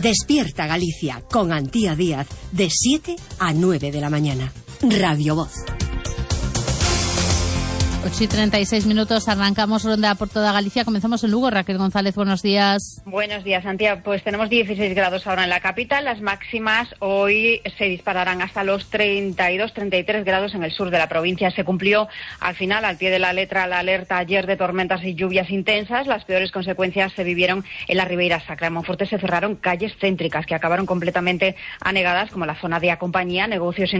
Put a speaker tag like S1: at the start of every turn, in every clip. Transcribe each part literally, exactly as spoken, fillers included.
S1: Despierta Galicia con Antía Díaz de siete a nueve de la mañana. Radio Voz.
S2: ocho y treinta y seis minutos, arrancamos ronda por toda Galicia. Comenzamos en Lugo. Raquel González, buenos días.
S3: Buenos días, Santiago. Pues tenemos dieciséis grados ahora en la capital. Las máximas hoy se dispararán hasta los treinta y dos, treinta y tres grados en el sur de la provincia. Se cumplió al final, al pie de la letra, la alerta ayer de tormentas y lluvias intensas. Las peores consecuencias se vivieron en la Ribeira Sacra. En Monforte se cerraron calles céntricas que acabaron completamente anegadas, como la zona de Acompañía, negocios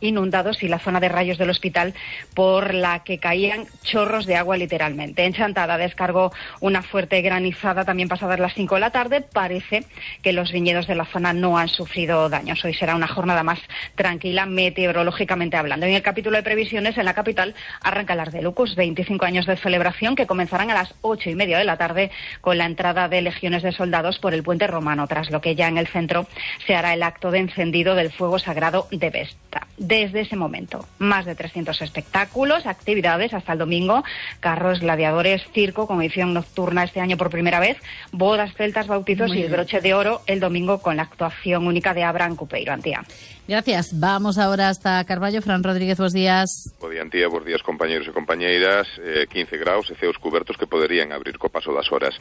S3: inundados y la zona de Rayos del Hospital, por la que caía chorros de agua literalmente. En Chantada descargó una fuerte granizada también pasadas las cinco de la tarde. Parece que los viñedos de la zona no han sufrido daños. Hoy será una jornada más tranquila meteorológicamente hablando. En el capítulo de previsiones, en la capital arranca el Ardelucus, veinticinco años de celebración que comenzarán a las ocho y media de la tarde con la entrada de legiones de soldados por el puente romano, tras lo que ya en el centro se hará el acto de encendido del fuego sagrado de Vesta. Desde ese momento, más de trescientos espectáculos, actividades hasta el domingo, carros, gladiadores, circo con edición nocturna este año por primera vez, bodas, celtas, bautizos y el broche de oro el domingo con la actuación única de Abraham Cupeiro. Antía.
S2: Gracias. Vamos ahora hasta Carballo. Fran Rodríguez, buenos días.
S4: Bo día, Antía, buenos días, compañeros e compañeiras. Eh, quince graus e ceos cubertos que poderían abrir co paso das horas.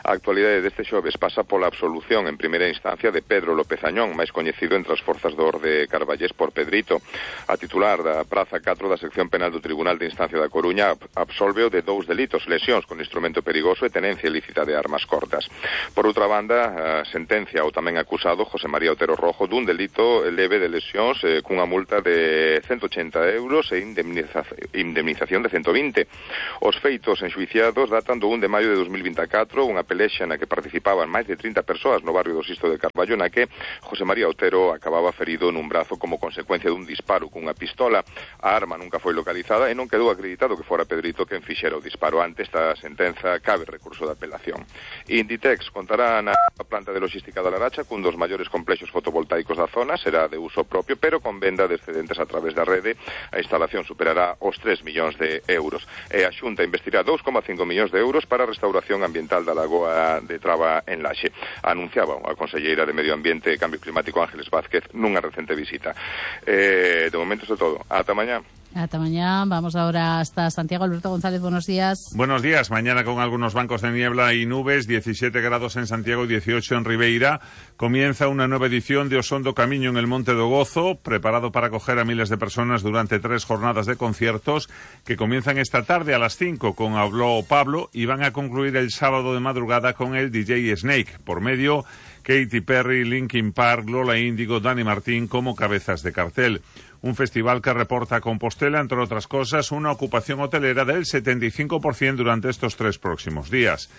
S4: A actualidade deste xoves pasa pola absolución en primeira instancia de Pedro López Añón, máis coñecido entre as forzas do Orde Carballés por Pedrito. A titular da Praza catro da sección penal do Tribunal de Instancia da Coruña absolveu de dous delitos: lesións con instrumento perigoso e tenencia ilícita de armas cortas. Por outra banda, a sentencia ao tamén acusado José María Otero Rojo dun delito leve de lesións eh, cunha multa de ciento ochenta euros e indemniza indemnización de ciento vinte. Os feitos enxuiciados datan do un de maio de dos mil vinte e catro, unha pelexa na que participaban máis de trinta persoas no barrio do Sisto de Carballo, na que José María Otero acababa ferido nun brazo como consecuencia dun disparo cunha pistola. A arma nunca foi localizada e non quedou acreditado que fora Pedrito quen fixera o disparo. Ante esta sentenza cabe recurso de apelación. Inditex contará na planta de logística da Laracha cun dos maiores complexos fotovoltaicos da zona, será de uso propio, pero con venda de excedentes a través da rede. A instalación superará os tres millóns de euros. E a Xunta investirá dous coma cinco millóns de euros para a restauración ambiental da lagoa de Traba en Laxe. Anunciaba a conselleira de Medio Ambiente e Cambio Climático Ángeles Vázquez nunha recente visita. Eh, de momento é todo. Ata mañá.
S2: Hasta mañana. Vamos ahora hasta Santiago. Alberto González, buenos días.
S5: Buenos días. Mañana con algunos bancos de niebla y nubes, diecisiete grados en Santiago y dieciocho en Ribeira. Comienza una nueva edición de Osondo Camiño en el Monte do Gozo, preparado para acoger a miles de personas durante tres jornadas de conciertos que comienzan esta tarde a las cinco con Habló Pablo y van a concluir el sábado de madrugada con el D J Snake. Por medio, Katy Perry, Linkin Park, Lola Índigo, Dani Martín como cabezas de cartel. Un festival que reporta a Compostela, entre otras cosas, una ocupación hotelera del setenta y cinco por ciento durante estos tres próximos días.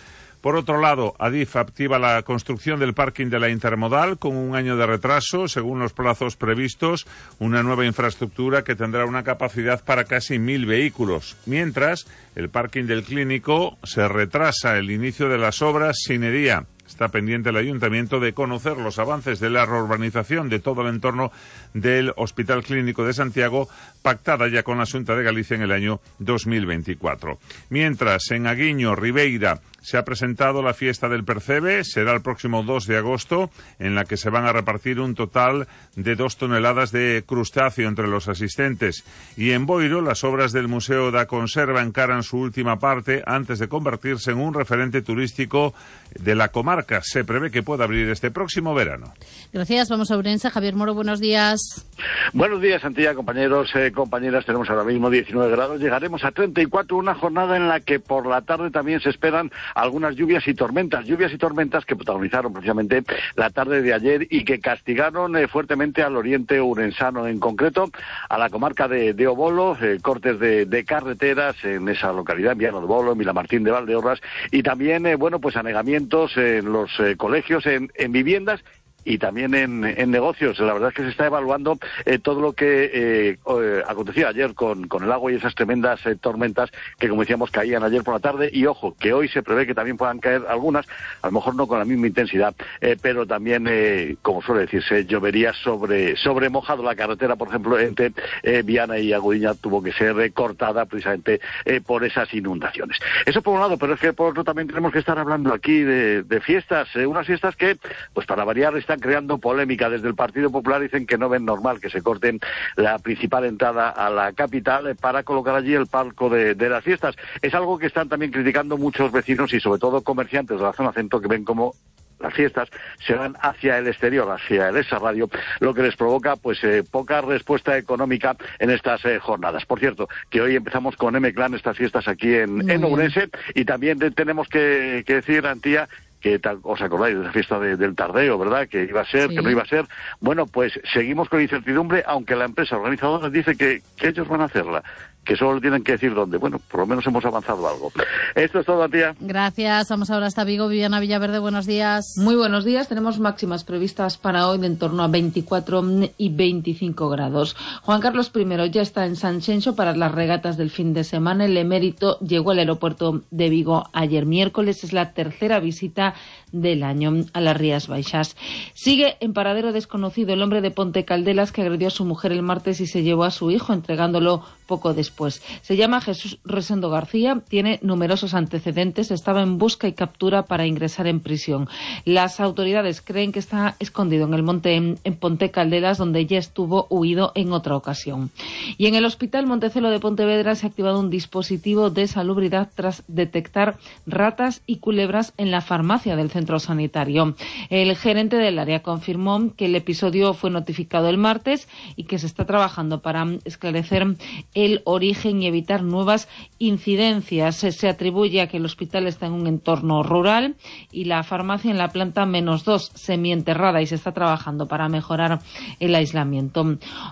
S5: Por otro lado, Adif activa la construcción del parking de la Intermodal con un año de retraso, según los plazos previstos, una nueva infraestructura que tendrá una capacidad para casi mil vehículos. Mientras, el parking del Clínico se retrasa el inicio de las obras sine die. Está pendiente el Ayuntamiento de conocer los avances de la reurbanización de todo el entorno del Hospital Clínico de Santiago, pactada ya con la Xunta de Galicia en el año dos mil veinticuatro. Mientras, en Aguiño, Ribeira, se ha presentado la fiesta del Percebe, será el próximo dos de agosto, en la que se van a repartir un total de dos toneladas de crustáceo entre los asistentes. Y en Boiro, las obras del Museo da Conserva encaran su última parte antes de convertirse en un referente turístico de la comarca. Se prevé que pueda abrir este próximo verano.
S2: Gracias. Vamos a Ourense. Javier Moro, buenos días.
S6: Buenos días, Santiago, compañeros, eh, compañeras. Tenemos ahora mismo diecinueve grados. Llegaremos a treinta y cuatro, una jornada en la que por la tarde también se esperan algunas lluvias y tormentas, lluvias y tormentas que protagonizaron precisamente la tarde de ayer y que castigaron eh, fuertemente al oriente urensano, en concreto a la comarca de, de Obolo, eh, cortes de, de carreteras en esa localidad, en Viano de Obolo, en Vilamartín de Valdeorras, y también, eh, bueno, pues anegamientos en los eh, colegios, en, en viviendas y también en, en negocios. La verdad es que se está evaluando eh, todo lo que eh, eh, acontecía ayer con, con el agua y esas tremendas eh, tormentas que, como decíamos, caían ayer por la tarde, y ojo, que hoy se prevé que también puedan caer algunas, a lo mejor no con la misma intensidad, eh, pero también, eh, como suele decirse, llovería sobre, sobre mojado. La carretera, por ejemplo, entre eh, Viana y Agudiña tuvo que ser eh, cortada precisamente eh, por esas inundaciones. Eso por un lado, pero es que por otro también tenemos que estar hablando aquí de, de fiestas, eh, unas fiestas que, pues para variar, están creando polémica. Desde el Partido Popular dicen que no ven normal que se corten la principal entrada a la capital eh, para colocar allí el palco de, de las fiestas. Es algo que están también criticando muchos vecinos y sobre todo comerciantes de la zona centro, que ven como las fiestas se van hacia el exterior, hacia el Extrarradio, lo que les provoca pues eh, poca respuesta económica en estas eh, jornadas. Por cierto, que hoy empezamos con M-Clan estas fiestas aquí en, en Ourense, y también de, tenemos que, que decir, Antía, que os acordáis de la fiesta de, del Tardeo, ¿verdad? Que iba a ser, sí. que no iba a ser. Bueno, pues seguimos con incertidumbre, aunque la empresa organizadora dice que, que ellos van a hacerla, que solo tienen que decir dónde. Bueno, por lo menos hemos avanzado algo. Esto es todo, tía.
S2: Gracias. Vamos ahora hasta Vigo. Viviana Villaverde, buenos días.
S7: Muy buenos días. Tenemos máximas previstas para hoy de en torno a veinticuatro y veinticinco grados. Juan Carlos I ya está en Sanxenxo para las regatas del fin de semana. El emérito llegó al aeropuerto de Vigo ayer miércoles. Es la tercera visita del año a las Rías Baixas. Sigue en paradero desconocido el hombre de Ponte Caldelas que agredió a su mujer el martes y se llevó a su hijo, entregándolo poco después. Se llama Jesús Rosendo García, tiene numerosos antecedentes, estaba en busca y captura para ingresar en prisión. Las autoridades creen que está escondido en el monte en, en Ponte Caldelas, donde ya estuvo huido en otra ocasión. Y en el Hospital Montecelo de Pontevedra se ha activado un dispositivo de salubridad tras detectar ratas y culebras en la farmacia del centro sanitario. El gerente del área confirmó que el episodio fue notificado el martes y que se está trabajando para esclarecer el origen y evitar nuevas incidencias. Se atribuye a que el hospital está en un entorno rural y la farmacia en la planta menos dos, semienterrada, y se está trabajando para mejorar el aislamiento.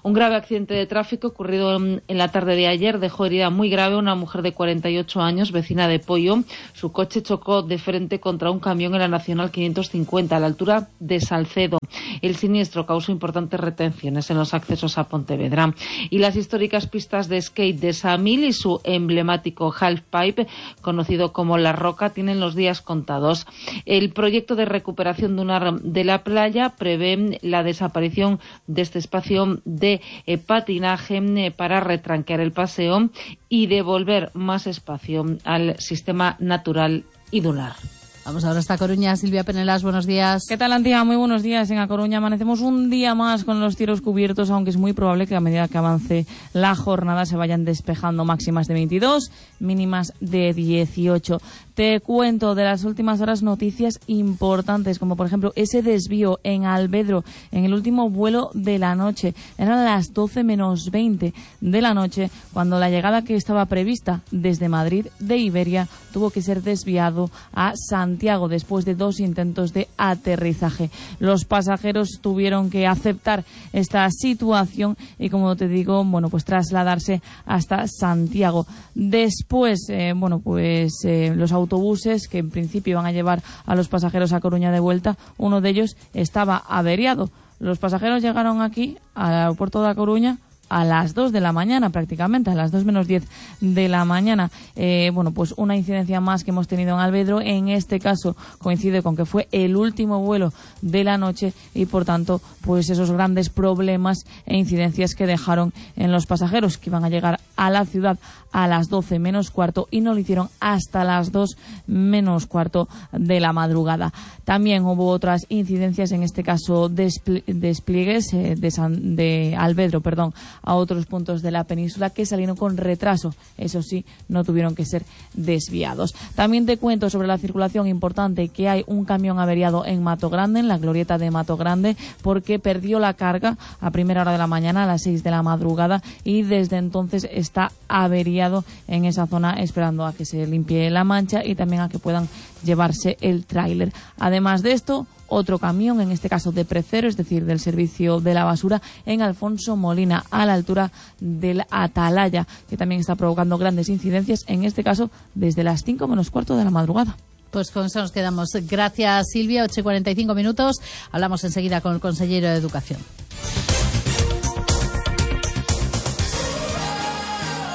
S7: Un grave accidente de tráfico ocurrido en la tarde de ayer dejó herida muy grave a una mujer de cuarenta y ocho años, vecina de Pollo. Su coche chocó de frente contra un camión en la Nacional quinientos cincuenta a la altura de Salcedo. El siniestro causó importantes retenciones en los accesos a Pontevedra. Y las históricas pistas de skate de Samil y su emblemático halfpipe, conocido como La Roca, tienen los días contados. El proyecto de recuperación dunar de la playa prevé la desaparición de este espacio de eh, patinaje eh, para retranquear el paseo y devolver más espacio al sistema natural y dunar.
S2: Vamos ahora hasta Coruña. Silvia Penelas, buenos días.
S8: ¿Qué tal, Antía? Muy buenos días. En A Coruña amanecemos un día más con los cielos cubiertos, aunque es muy probable que a medida que avance la jornada se vayan despejando. Máximas de veintidós, mínimas de dieciocho. Te cuento de las últimas horas noticias importantes, como por ejemplo ese desvío en Alvedro en el último vuelo de la noche. Eran las doce menos veinte de la noche cuando la llegada que estaba prevista desde Madrid de Iberia tuvo que ser desviado a Santiago después de dos intentos de aterrizaje. Los pasajeros tuvieron que aceptar esta situación y, como te digo, bueno, pues trasladarse hasta Santiago. Después, eh, bueno, pues eh, los autobuses que en principio iban a llevar a los pasajeros a Coruña de vuelta, uno de ellos estaba averiado. Los pasajeros llegaron aquí al aeropuerto de A Coruña a las dos de la mañana, prácticamente, a las dos menos diez de la mañana. Eh, bueno, pues una incidencia más que hemos tenido en Alvedro. En este caso coincide con que fue el último vuelo de la noche y, por tanto, pues esos grandes problemas e incidencias que dejaron en los pasajeros que iban a llegar a la ciudad a las doce menos cuarto y no lo hicieron hasta las dos menos cuarto de la madrugada. También hubo otras incidencias, en este caso despli- despliegues eh, de, San, de Alvedro, perdón, a otros puntos de la península que salieron con retraso. Eso sí, no tuvieron que ser desviados. También te cuento sobre la circulación importante, que hay un camión averiado en Mato Grande, en la glorieta de Mato Grande, porque perdió la carga a primera hora de la mañana, a las seis de la madrugada, y desde entonces está averiado en esa zona, esperando a que se limpie la mancha y también a que puedan llevarse el tráiler. Además de esto, otro camión, en este caso de Precero, es decir, del servicio de la basura, en Alfonso Molina, a la altura del Atalaya, que también está provocando grandes incidencias, en este caso desde las cinco menos cuarto de la madrugada.
S2: Pues con eso nos quedamos. Gracias, Silvia. ocho y cuarenta y cinco minutos. Hablamos enseguida con el consejero de Educación.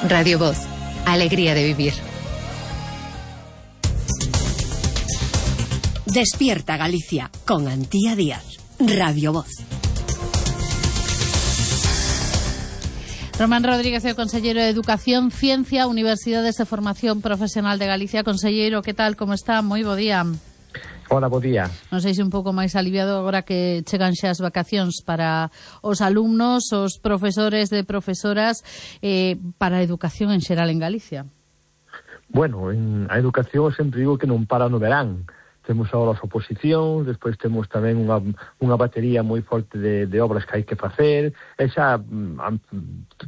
S9: Radio Voz. Alegría de vivir.
S1: Despierta Galicia con Antía Díaz. Radio Voz.
S2: Román Rodríguez, el consejero de Educación, Ciencia, Universidades de Formación Profesional de Galicia. Consejero, que tal, como está? Moi bo día.
S10: Hola, bo día.
S2: Non sei se un pouco máis aliviado agora que chegan xa as vacacións para os alumnos, os profesores de profesoras, eh, para a educación en xeral en Galicia.
S10: Bueno, en a educación sempre digo que non para no verán. Temos agora as oposicións, despois temos tamén unha, unha batería moi forte de, de obras que hai que facer, e xa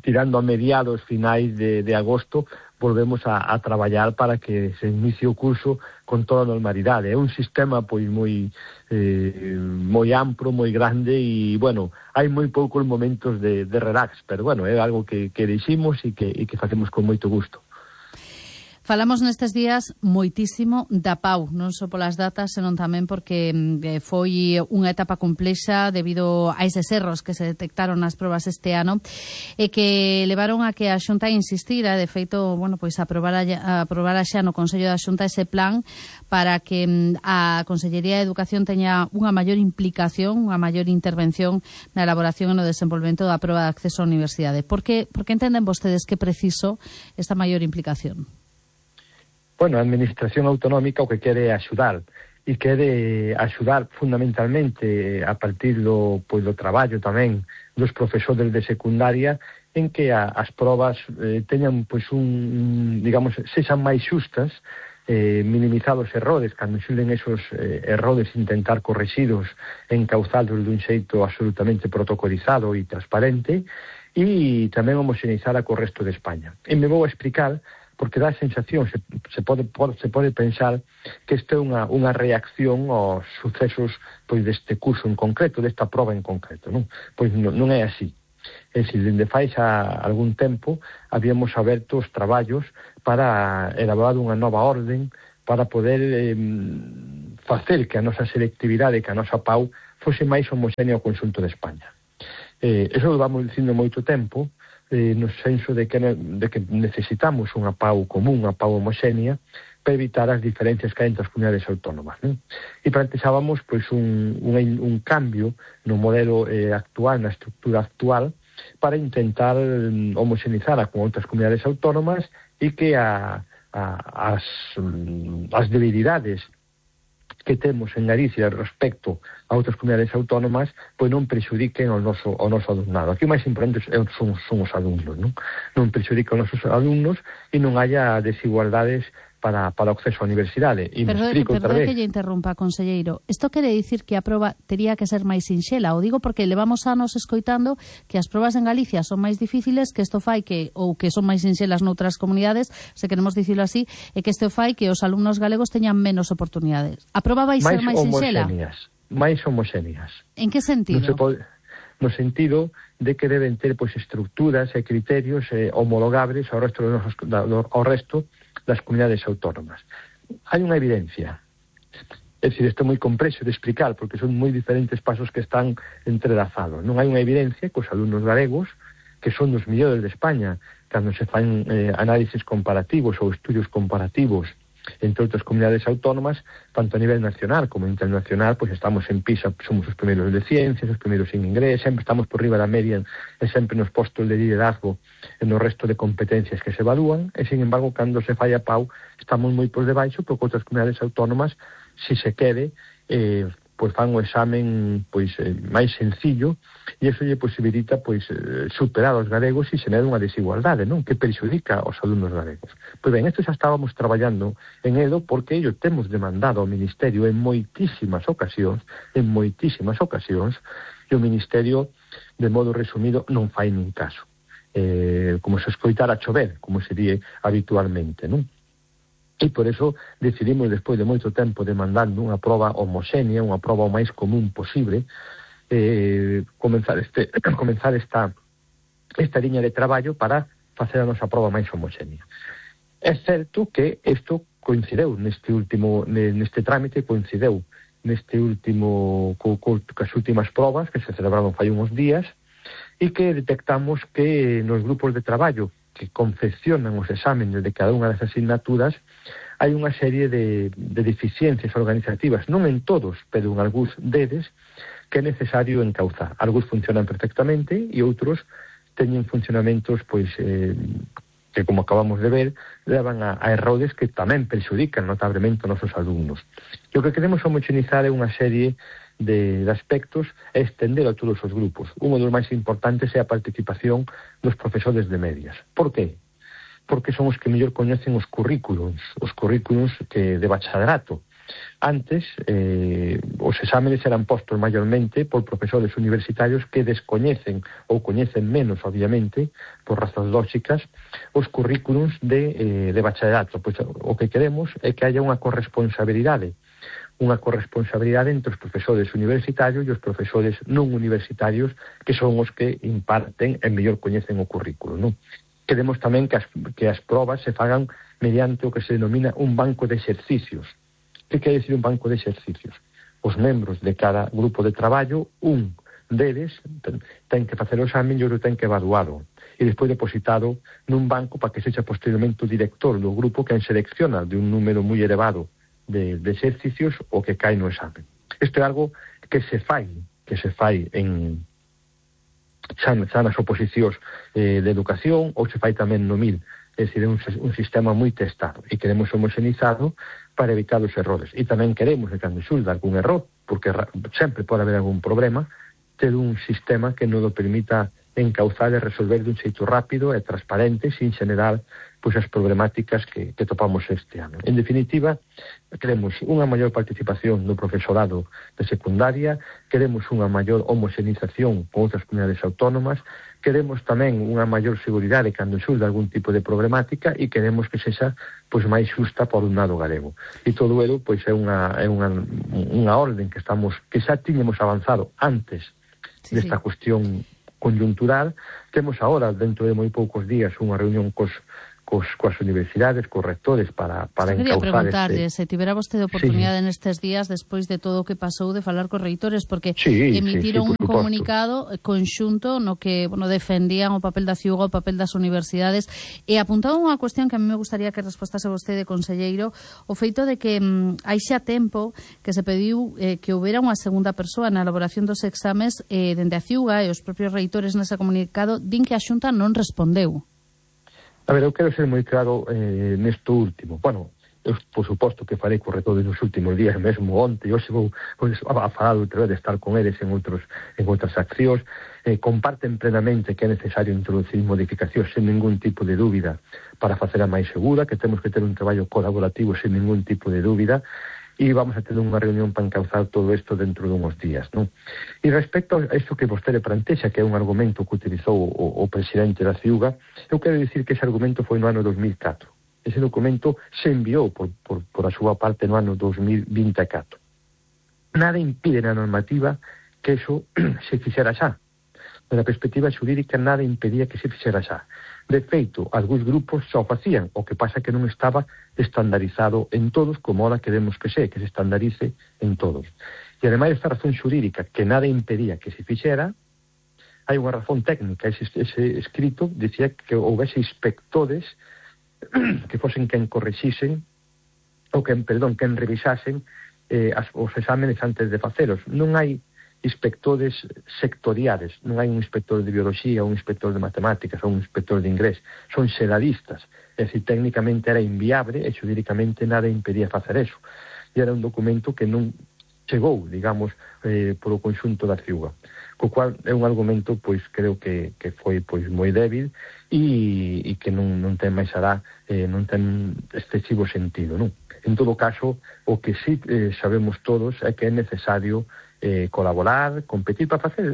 S10: tirando a mediados finais de, de agosto volvemos a, a traballar para que se inicie o curso con toda a normalidade. É un sistema pois moi eh, moi amplo, moi grande e, bueno, hai moi poucos momentos de, de relax, pero, bueno, é algo que, que deiximos e que, e que facemos con moito gusto.
S2: Falamos nestes días moitísimo da P A U, non só polas datas, senón tamén porque eh, foi unha etapa complexa debido a eses erros que se detectaron nas probas este ano e que levaron a que a Xunta insistira, de feito, bueno, pois aprobara, aprobara xa no Consello da Xunta ese plan para que a Consellería de Educación teña unha maior implicación, unha maior intervención na elaboración e no desenvolvemento da proba de acceso á universidade. Por que, por que entenden vostedes que é preciso esta maior implicación?
S10: Bueno, a Administración Autonómica o que quere é axudar e quere axudar fundamentalmente a partir do, pois, do traballo tamén dos profesores de secundaria en que a, as probas eh, teñan pois un, digamos, sexan máis xustas, eh, minimizados errores, cando xulen esos eh, errores intentar correxidos, encauzados dun xeito absolutamente protocolizado e transparente, e tamén homoxeneizada co resto de España. E me vou a explicar porque dá a sensación, se, se, pode, pode, se pode pensar que isto é unha, unha reacción aos sucesos pois deste curso en concreto, desta proba en concreto, non? Pois non, non é así. É dicir, dende fai xa algún tempo habíamos aberto os traballos para elaborar unha nova orden para poder eh, facer que a nosa selectividade, que a nosa P A U fose máis homoxénea ao conxunto de España. Eh, eso lo vamos dicindo moito tempo, Eh, no senso de que, de que necesitamos unha P A U común, unha P A U homoxénea, para evitar as diferencias que hai entre as comunidades autónomas, non? E planteábamos pois, un, un, un cambio no modelo eh, actual, na estructura actual, para intentar um, homoxenizar a con outras comunidades autónomas e que a, a, as, um, as debilidades que temos en Galicia respecto a outras comunidades autónomas pois non prexudiquen ao noso, ao noso alumnado. Aquí o máis importante son, son os alumnos, non? Non prexudiquen os nosos alumnos e non haya desigualdades para, para o acceso á universidade. E
S2: Perdón,
S10: explico outra vez.
S2: que lle interrumpa, conselleiro. Isto quere dicir que a proba tería que ser máis sinxela? O digo porque levamos anos escoitando que as probas en Galicia son máis difíciles, que isto fai que, ou que son máis sinxelas noutras comunidades, se queremos dicirlo así, e que isto fai que os alumnos galegos teñan menos oportunidades. A proba vai ser máis sinxela?
S10: Máis homoxéneas.
S2: En que sentido?
S10: Non se pode, no sentido de que deben ter pois estructuras e criterios eh, homologables ao resto, dos, ao resto das comunidades autónomas. Hai unha evidencia. É dicir, isto é moi complexo de explicar porque son moi diferentes pasos que están entrelazados. Non hai unha evidencia que os alumnos galegos, que son dos mellores de España, cando se fan eh, análisis comparativos ou estudios comparativos entre outras comunidades autónomas, tanto a nivel nacional como internacional, pois estamos en PISA, somos os primeiros de ciencias, os primeiros en inglés, sempre estamos por riba da media e sempre nos postos de liderazgo en o resto de competencias que se evalúan, e, sin embargo, cando se fai a P A U, estamos moi por debaixo, porque outras comunidades autónomas, si se quere, eh, pois fan o examen pois eh, máis sencillo e iso lle posibilita pois eh, superar os galegos e xerar unha desigualdade, non? Que perxudica aos alumnos galegos. Pois ben, isto xa estábamos traballando en Edo porque ello temos demandado ao Ministerio en moitísimas ocasións, en moitísimas ocasións, e o Ministerio, de modo resumido, non fai nin caso. Eh, como se escoitara chover, como se di habitualmente, non? E por eso decidimos, despois de moito tempo, demandando unha proba homoxénea, unha proba o máis común posible, eh, comenzar, este, comenzar esta, esta liña de traballo para facer a nosa proba máis homoxénea. É certo que isto coincideu neste último neste trámite, coincideu neste último co, co, cas últimas probas que se celebraron fai uns días, e que detectamos que nos grupos de traballo que confeccionan os exámenes de cada unha das asignaturas hai unha serie de, de deficiencias organizativas, non en todos, pero en algúns deles, que é necesario encauzar. Algúns funcionan perfectamente e outros teñen funcionamentos pois eh, que, como acabamos de ver, levan a, a errores que tamén perxudican notablemente os nosos alumnos. E o que queremos homogenizar é unha serie de, de aspectos e estender a todos os grupos. Un dos máis importantes é a participación dos profesores de medias. Por qué? Porque son os que mellor coñecen os currículums, os currículums que de bachillerato. Antes, eh, os exámenes eran postos maiormente por profesores universitarios que descoñecen ou coñecen menos, obviamente, por razóns lóxicas, os currículums de, eh, de bachillerato. Pois o que queremos é que haya unha corresponsabilidade, unha corresponsabilidade entre os profesores universitarios e os profesores non universitarios, que son os que imparten e mellor coñecen o currículo, non? Queremos tamén que as, que as probas se fagan mediante o que se denomina un banco de exercicios. Que quere decir un banco de exercicios? Os membros de cada grupo de traballo, un deles ten, ten que facer o examen e outro ten que evaluado e despois depositado nun banco para que sexa posteriormente o director do grupo quen selecciona de un número moi elevado de, de exercicios o que cae no examen. Isto é algo que se fai, que se fai en xa, xa nas oposicións eh, de educación ou se fai tamén no mil. É dicir, é un, un sistema moi testado e queremos homogenizado para evitar os errores. E tamén queremos que cando xulda algún error, porque sempre pode haber algún problema, ter un sistema que nos o permita encauzar e resolver dun xeito rápido e transparente, sin generar pois, as problemáticas que, que topamos este ano. En definitiva, queremos unha maior participación do profesorado de secundaria, queremos unha maior homoxenización con outras comunidades autónomas, queremos tamén unha maior seguridade cando xulda algún tipo de problemática e queremos que sexa pois, máis xusta por un lado galego. E todoelo pois, é, unha, é unha, unha orden que, estamos, que xa tiñemos avanzado antes sí, desta sí. cuestión conjuntural. Temos agora, dentro de moi poucos días, unha reunión cos, cos, coas universidades, cos rectores para, para encauzar este... Quería preguntarle,
S2: se tivera vostede oportunidade sí. nestes días, despois de todo o que pasou, de falar cos reitores, porque
S10: sí,
S2: emitiron
S10: sí, sí,
S2: un comunicado conxunto no que bueno, defendían o papel da ciuga, o papel das universidades, e apuntaban unha cuestión que a mí me gustaría que respostase vostede, conselleiro, o feito de que mm, hai xa tempo que se pediu eh, que houbera unha segunda persoa na elaboración dos exames eh, dende a ciuga, e os propios reitores nese comunicado din que a Xunta non respondeu.
S10: A ver, eu quero ser moi claro eh, nesto último. Bueno, eu, por suposto, que farei co retores nos últimos días, mesmo onte, e hoxe vou pues, a falar outra vez de estar con eles en outros en outras accións. Eh, comparten plenamente que é necesario introducir modificacións sen ningún tipo de dúbida para facela máis segura, que temos que ter un traballo colaborativo sen ningún tipo de dúbida, e vamos a ter unha reunión para encauzar todo isto dentro de uns días, non? E respecto a isto que vostede plantexa, que é un argumento que utilizou o, o presidente da ciuga, eu quero dicir que ese argumento foi no ano dos mil catro. Ese documento se enviou por, por, por a súa parte no ano dos mil vinte e catro. Nada impide na normativa que eso se fixera xa. Da perspectiva xurídica, nada impedía que se fixera xa. De feito, algúns grupos xa o facían, o que pasa que non estaba estandarizado en todos, como ahora queremos que se, que se estandarice en todos. E ademais esta razón xurídica, que nada impedía que se fixera, hai unha razón técnica. Ese, ese escrito dicía que houvese inspectores que fosen quen correxisen, ou quen, perdón, quen revisasen eh, as, os exámenes antes de facelos. Non hai inspectores sectoriales, non hai un inspector de biología, un inspector de matemáticas ou un inspector de inglés, son xeralistas, é dicir, técnicamente era inviable e xurídicamente nada impedía facer eso, e era un documento que non chegou, digamos, eh, polo conxunto da ciuga, co cual é un argumento, pois, creo que, que foi, pois, moi débil e, e que non, non ten máis alá, eh, non ten excesivo sentido, non? En todo caso, o que sí eh, sabemos todos é que é necesario Eh, colaborar, competir para facer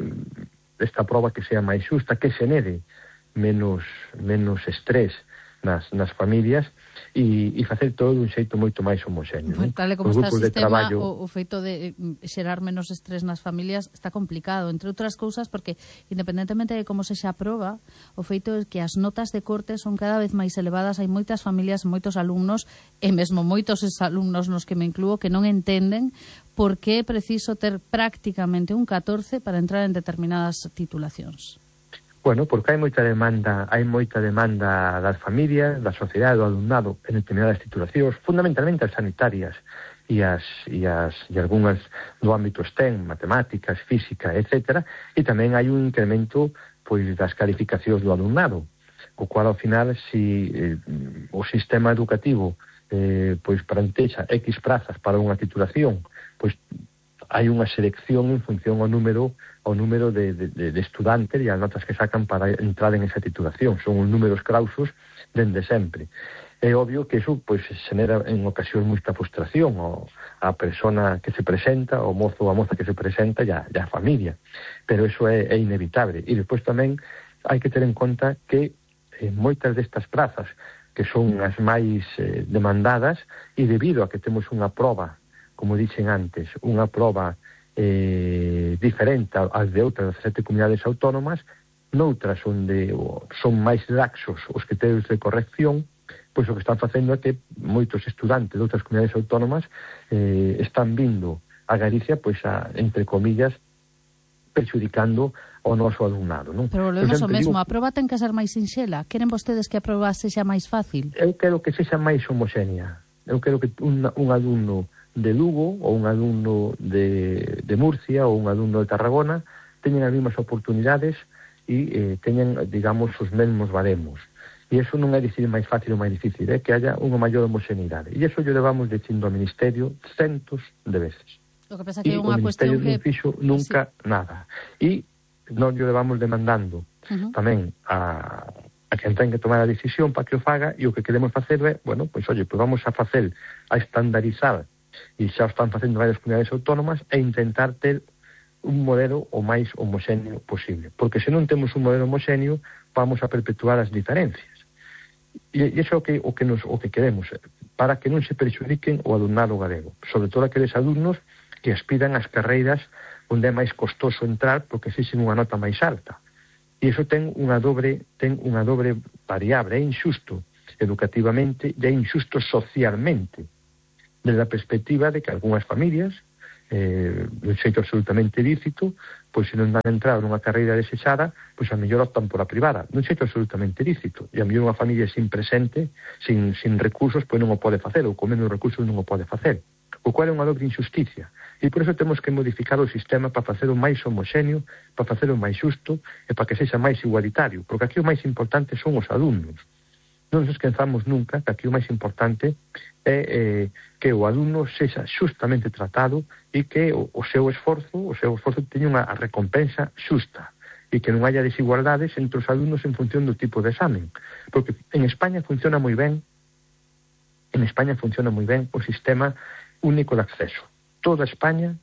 S10: esta proba que sea máis xusta, que xenere menos, menos estrés nas, nas familias e, e facer todo dun xeito moito máis homoxéneo.
S2: Pues, tal e como
S10: Os
S2: está o
S10: grupos de
S2: sistema,
S10: traballo...
S2: o, o feito de xerar menos estrés nas familias está complicado, entre outras cousas, porque independentemente de como se xa aproba, o feito é que as notas de corte son cada vez máis elevadas, hai moitas familias, moitos alumnos, e mesmo moitos alumnos nos que me incluo, que non entenden por que é preciso ter prácticamente un catorce para entrar en determinadas titulacións.
S10: Bueno, porque hai moita demanda, hai moita demanda das familias, da sociedade, do alumnado en determinadas titulacións, fundamentalmente as sanitarias e as e as e algunhas do ámbito STEM, matemáticas, física, etcétera, e tamén hai un incremento pois das calificacións do alumnado, o cual ao final si eh, o sistema educativo eh, pois plantexa X prazas para unha titulación, pois hai unha selección en función ao número ao número de, de, de estudantes e as notas que sacan para entrar en esa titulación. Son uns números clausos dende sempre. É obvio que iso pois, genera en ocasións moita frustración ao, a persona que se presenta, o mozo ou a moza que se presenta e a, e a familia. Pero iso é, é inevitable. E despois tamén hai que ter en conta que eh, moitas destas plazas que son as máis eh, demandadas e debido a que temos unha proba, como dixen antes, unha proba eh, diferente ás de outras sete comunidades autónomas, noutras onde son máis laxos os criterios de corrección, pois o que están facendo é que moitos estudantes de outras comunidades autónomas eh, están vindo a Galicia, pois a, entre comillas, perxudicando o noso alumnado, non?
S2: Pero volvemos ao mesmo, digo, a proba ten que ser máis sinxela. Queren vostedes que a proba sexa máis fácil?
S10: Eu quero que sexa máis homoxénea. Eu quero que un, un alumno de Lugo ou un alumno de, de Murcia ou un alumno de Tarragona teñen as mesmas oportunidades e eh, teñen, digamos, os mesmos baremos. E iso non é dicir máis fácil ou máis difícil, é que haya unha maior homoxeneidade. E iso yo levamos dicindo ao Ministerio centos de veces.
S2: O que pasa que é unha cuestión que...
S10: E o Ministerio non fixo nunca sí. nada. E non yo levamos demandando uh-huh. tamén a... a quen ten que tomar a decisión para que o faga, e o que queremos facer é, bueno, pois, oye, pois vamos a facer, a estandarizar, e xa están facendo varias comunidades autónomas, e intentar ter un modelo o máis homoxéneo posible. Porque se non temos un modelo homoxéneo, vamos a perpetuar as diferencias. E iso é o que, o que, nos, o que queremos, para que non se perxudiquen o alumnado galego, sobre todo aqueles alumnos que aspiran ás carreiras onde é máis costoso entrar porque exixen unha nota máis alta. E iso ten unha dobre, ten unha dobre variable, é injusto educativamente e é injusto socialmente, desde a perspectiva de que algunhas familias, eh, de xeito absolutamente lícito, pois se non van a entrar nunha carreira desexada, pois a mellor optan por a privada, de xeito absolutamente lícito, e a mellor unha familia sin presente, sin, sin recursos, pois non o pode facer, ou con menos recursos non o pode facer, o cual é unha dobre injusticia, e por eso temos que modificar o sistema para facer o máis homoxéneo, para facer o máis xusto, e para que sexa máis igualitario, porque aquí o máis importante son os alumnos. Non nos esquezamos nunca que aquí o máis importante é eh, que o alumno sexa xustamente tratado e que o, o seu esforzo, o seu esforzo teña unha recompensa xusta e que non haya desigualdades entre os alumnos en función do tipo de examen. Porque en España funciona moi ben, en España funciona moi ben o sistema único de acceso. Toda España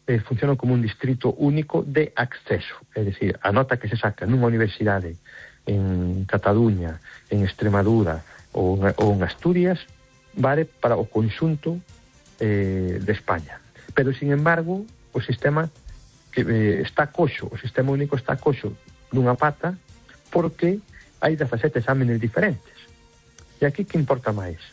S10: eh, funciona como un distrito único de acceso, é dicir, a nota que se saca nunha universidade en Cataluña, en Extremadura ou, ou en Asturias, vale para o conxunto eh, de España. Pero, sin embargo, o sistema que eh, está coxo, o sistema único está coxo nunha pata porque hai dezasete exámenes diferentes. E aquí que importa máis?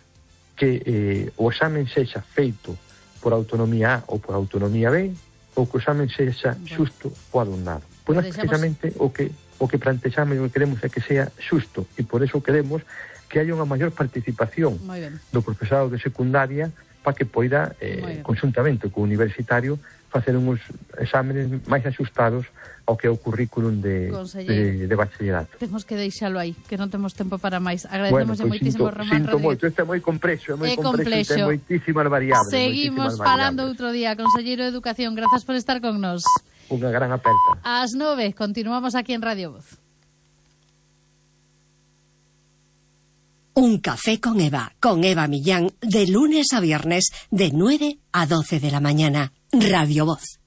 S10: Que eh, o examen sexa feito por autonomía A ou por autonomía B, ou que o examen sexa xusto o alumnado. Pois nós precisamente o que o que plantexamos e o que queremos é que sea xusto, e por eso queremos que haya unha maior participación do profesorado de secundaria para que poida, eh, conjuntamente co universitario, facer uns exámenes máis axustados ao que é o currículum de, de, de bachillerato.
S2: Temos que deixalo aí, que non temos tempo para máis. Agradecemos
S10: bueno, pues
S2: moitísimo,
S10: sinto,
S2: Román
S10: sinto
S2: Rodríguez.
S10: moito, este é moi complexo, é moi
S2: é
S10: complexo, ten moitísimas variables.
S2: Seguimos
S10: moitísimas
S2: falando
S10: variables.
S2: outro día. Conselleiro de Educación, grazas por estar con nos.
S10: Unha gran aperta.
S2: Ás nove, continuamos aquí en Radio Voz.
S1: Un café con Eva, con Eva Millán, de lunes a viernes, de nueve a doce de la mañana. Radio Voz.